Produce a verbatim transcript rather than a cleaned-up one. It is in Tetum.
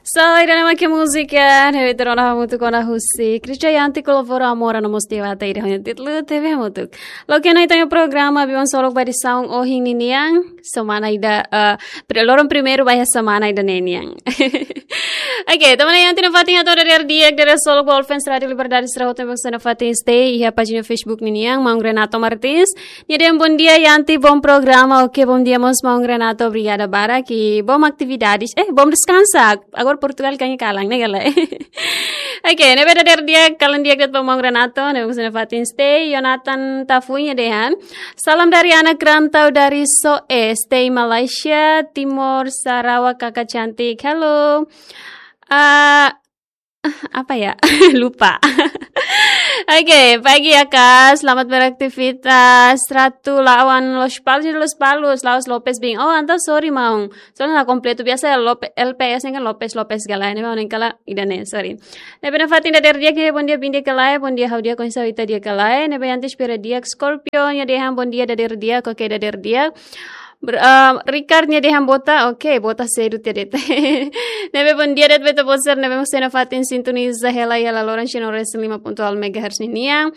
So, ida-ne'e mak múzika ne'ebé ita rona hamutuk ona husi Krisdayanti Kolobora Amora no mós Dewata, ida-ne'e títulu T V Hamutuk. Loke ona ita-nia programa Biban Solok ba edisaun ohin ninian, semana ida, eh, pri-, loron primeiru ba iha semana ida-ne'e nian. Oke, tanba ne'e Yanti nafatin hato'o dadeer di'ak, dadeer solok ba All Fans Rádio Liberdade sira hotu ne'ebé mós nafatin stay iha pájina Facebook ninian, Maun Renato Martins. Nia dehan bondia Yanti, bom programa. Oke, bondia mós Maun Renato, obrigada barak, i bom atividades. Eh, bom descansa. Agora Portugal kan iha kalan, ne'e ka lae? Oke, ne'ebé dadeer di'ak, kalan di'ak de'it ba Maun Renato, ne'ebé mós nafatin stay, Jonathan Tafunya dehan. Salam dari anak rantau dari Soe, stay Malaysia, Timor, Sarawak, kakak cantik. Halo. Ah, apa ya? Lupa. Oke, pagi ya, Kak. Selamat beraktivitas. Ratu lawan Lospalos, Lospalos, Laos Lopes Bing. Oh, entaun sorry, Maun. Soalnya la kompletu, biasa Lope-, L P S ne'e kan Lopes, Lopes ka lae, ne'e Maun ne'e ka lae, ida-ne'e, sorry. Ne'ebé nafatin dadeer di'ak, bondia, bondia ka lae, bondia, ha'u di'ak, oinsá ita di'ak ka lae. Ne'ebé Yanti espera di'ak, Scorpio, nia dehan bondia dadeer di'ak, oke, dadeer di'ak. Ber-, eh, Ricard nia dehan bota, oke, bota sedu tiha de'it. Ne'ebé bondia de'it ba ita-boot sira ne'ebé mós nafatin sintoniza hela iha laloran sino resin lima ponto nol megahertz ninian.